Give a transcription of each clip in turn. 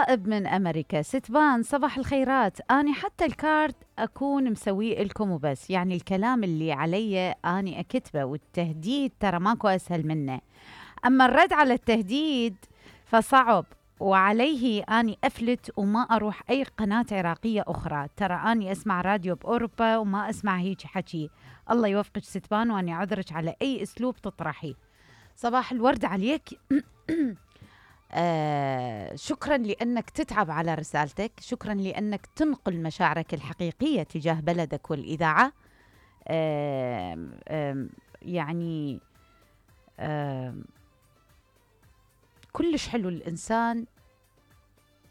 غائب من أمريكا. ستبان صباح الخيرات، أنا حتى الكارت أكون مسويه لكم وبس، يعني الكلام اللي علي أنا أكتبه، والتهديد ترى ماكو أسهل منه، أما الرد على التهديد فصعب، وعليه أني أفلت وما أروح أي قناة عراقية أخرى. ترى أني أسمع راديو بأوروبا وما أسمع هيك حكي. الله يوفقك ستبان، وأني أعذرك على أي أسلوب تطرحي. صباح الورد عليك. شكرا لأنك تتعب على رسالتك، شكرا لأنك تنقل مشاعرك الحقيقية تجاه بلدك والإذاعة. يعني كلش حلو الإنسان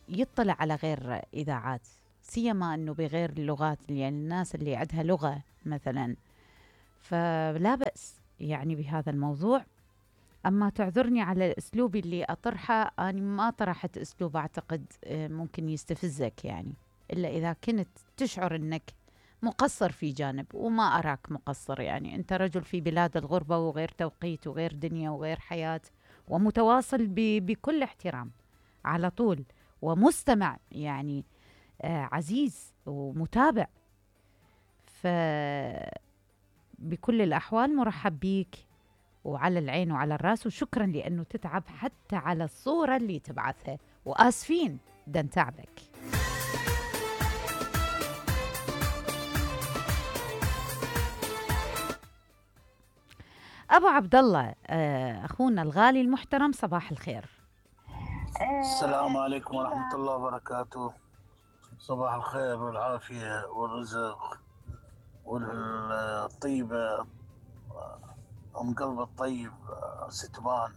يطلع على غير إذاعات، سيما أنه بغير اللغات، يعني الناس اللي عندها لغة مثلا، فلا بأس يعني بهذا الموضوع. أما تعذرني على أسلوبي اللي أطرحه، أنا ما طرحت أسلوب أعتقد ممكن يستفزك، يعني إلا إذا كنت تشعر أنك مقصر في جانب، وما أراك مقصر. يعني أنت رجل في بلاد الغربة وغير توقيت وغير دنيا وغير حياة، ومتواصل بكل احترام على طول، ومستمع يعني عزيز ومتابع، فبكل الأحوال مرحب بيك وعلى العين وعلى الراس، وشكرا لأنه تتعب حتى على الصورة اللي تبعثها، وآسفين دن تعبك. أبو عبد الله أخونا الغالي المحترم، صباح الخير. السلام عليكم ورحمة الله وبركاته. صباح الخير والعافية والرزق والطيبة، أم قلب الطيب ستبان.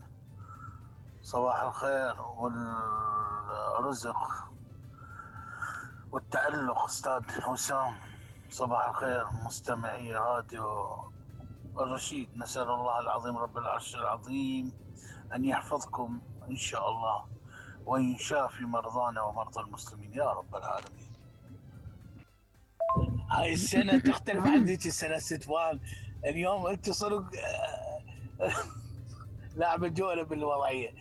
صباح الخير والرزق والتألق أستاذ حسام. صباح الخير مستمعي راديو الرشيد. نسأل الله العظيم رب العرش العظيم أن يحفظكم إن شاء الله، وإن شافي مرضانا ومرضى المسلمين يا رب العالمين. هاي السنة تختلف عن ذيك السنة ستبان. اليوم انت صدق لاعب الجولة بالوضعية.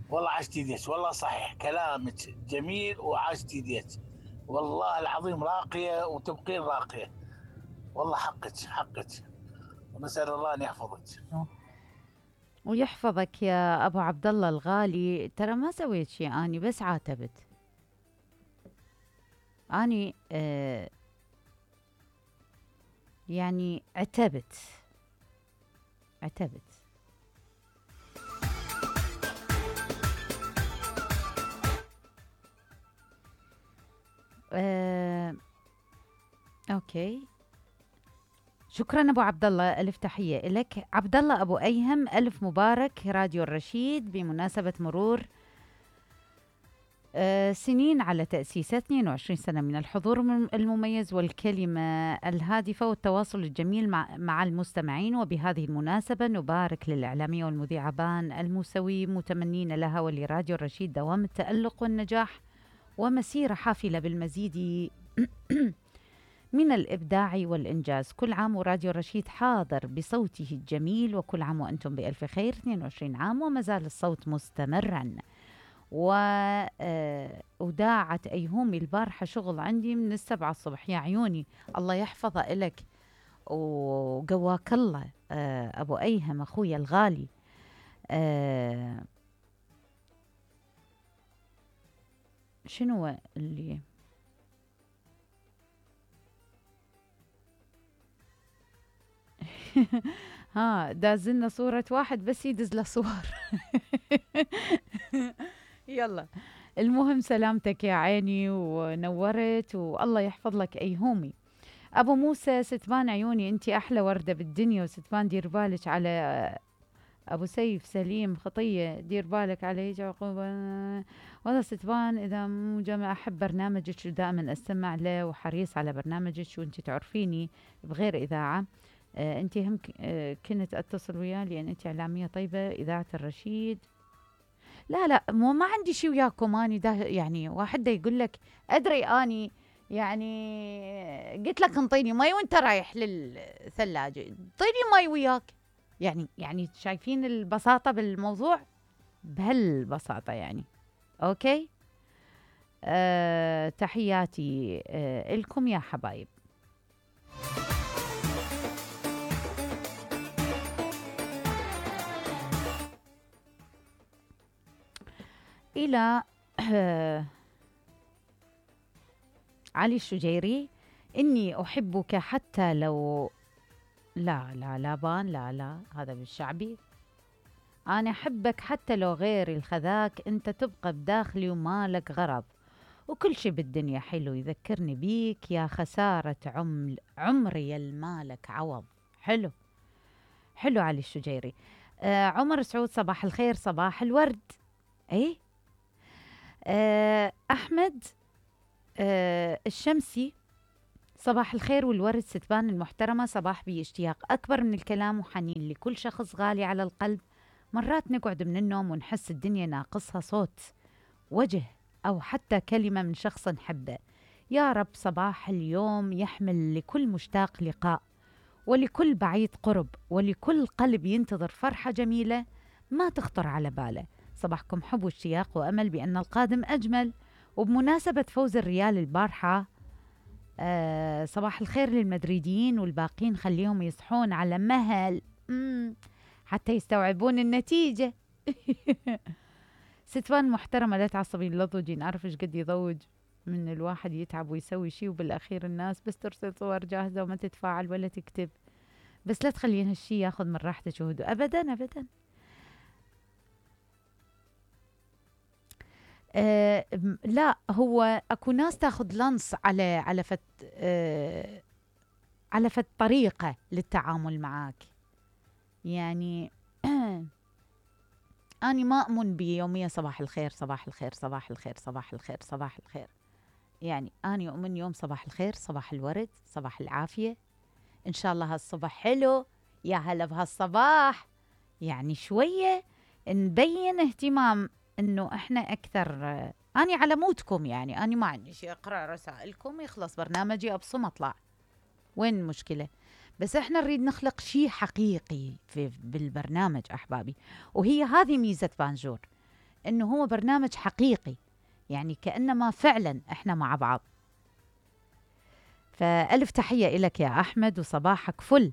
والله عشتي ديت، والله صحيح كلامك جميل وعشتي ديت، والله العظيم راقية وتبقين راقية، والله حقك، ونسأل الله أن يحفظك ويحفظك يا أبو عبد الله الغالي. ترى ما سويت شيء، أني بس عاتبت، أني يعني عتبت. أوكي، شكرا أبو عبد الله، ألف تحية لك. عبد الله أبو أيهم، ألف مبارك راديو الرشيد بمناسبة مرور سنين على تأسيسه، 22 سنة من الحضور المميز والكلمة الهادفة والتواصل الجميل مع المستمعين. وبهذه المناسبة نبارك للإعلامية والمذيعة بان الموسوي، متمنين لها ولراديو الرشيد دوام التألق والنجاح، ومسيرة حافلة بالمزيد من الإبداع والإنجاز. كل عام وراديو الرشيد حاضر بصوته الجميل، وكل عام وأنتم بألف خير. 22 عام وما زال الصوت مستمرا. وداعت أيهومي البارحة شغل عندي من 7 الصبح، يا عيوني الله يحفظه إلك وقواك الله. أبو أيهم أخويا الغالي، شنو اللي ها دازلنا صورة واحد بس يدز له صور. يلا المهم سلامتك يا عيني ونورت، والله يحفظ لك أيهومي. أبو موسى، ستبان عيوني أنت أحلى وردة بالدنيا، وستبان دير بالك على أبو سيف سليم خطية، دير بالك عليه عقوبة. والله ستبان إذا مو جمع أحب برنامجك ودائما أستمع له، وحريص على برنامجك، وأنت تعرفيني بغير إذاعة. أنت هم كنت أتصل وياه لأن أنت إعلامية طيبة إذاعة الرشيد. لا مو ما عندي شيء وياكم، أني يعني واحد يقول لك أدري أني يعني قلت لك انطيني مي وانت رايح للثلاجة، انطيني مي وياك. يعني شايفين البساطة بالموضوع، بهالبساطة يعني. أوكي، تحياتي لكم يا حبايب. إلى علي الشجيري: إني أحبك حتى لو لا بان، لا هذا بالشعبي. أنا أحبك حتى لو غيري الخذاك، أنت تبقى بداخلي ومالك غرض، وكل شي بالدنيا حلو يذكرني بيك، يا خسارة عمري المالك عوض. حلو علي الشجيري. عمر سعود: صباح الخير صباح الورد. أي أحمد الشمسي: صباح الخير والورد ستبان المحترمة، صباح بي اشتياق أكبر من الكلام وحنين لكل شخص غالي على القلب. مرات نقعد من النوم ونحس الدنيا ناقصها صوت، وجه، أو حتى كلمة من شخص نحبه. يا رب صباح اليوم يحمل لكل مشتاق لقاء، ولكل بعيد قرب، ولكل قلب ينتظر فرحة جميلة ما تخطر على باله. صباحكم حب واشتياق وأمل بأن القادم أجمل. وبمناسبة فوز الريال البارحة، صباح الخير للمدريديين والباقين، خليهم يصحون على مهل حتى يستوعبون النتيجة. ستوان محترمة: لا تعصبي اللضوجي، نعرف ايش قد يضوج من الواحد يتعب ويسوي شيء وبالأخير الناس بس ترسل صور جاهزة وما تتفاعل ولا تكتب. بس لا تخلين هالشي ياخذ من راحتك وهدوء أبدا أبدا. لا، هو اكو ناس تاخذ لنص على فت طريقة للتعامل معاك. يعني أنا ما أؤمن بيومية صباح الخير صباح الخير صباح الخير صباح الخير صباح الخير. يعني أنا أؤمن يوم صباح الخير، صباح الورد، صباح العافية، إن شاء الله هالصبح حلو، يا هلا بهالصباح. يعني شوية نبين اهتمام، إنه إحنا أكثر. أنا على مودكم، يعني أنا ما عندي شيء، أقرأ رسائلكم يخلص برنامجي أبصم أطلع، وين المشكلة؟ بس إحنا نريد نخلق شيء حقيقي بالبرنامج أحبابي، وهي هذه ميزة بانجور، إنه هو برنامج حقيقي، يعني كأنما فعلا إحنا مع بعض. فألف تحية إلك يا أحمد، وصباحك فل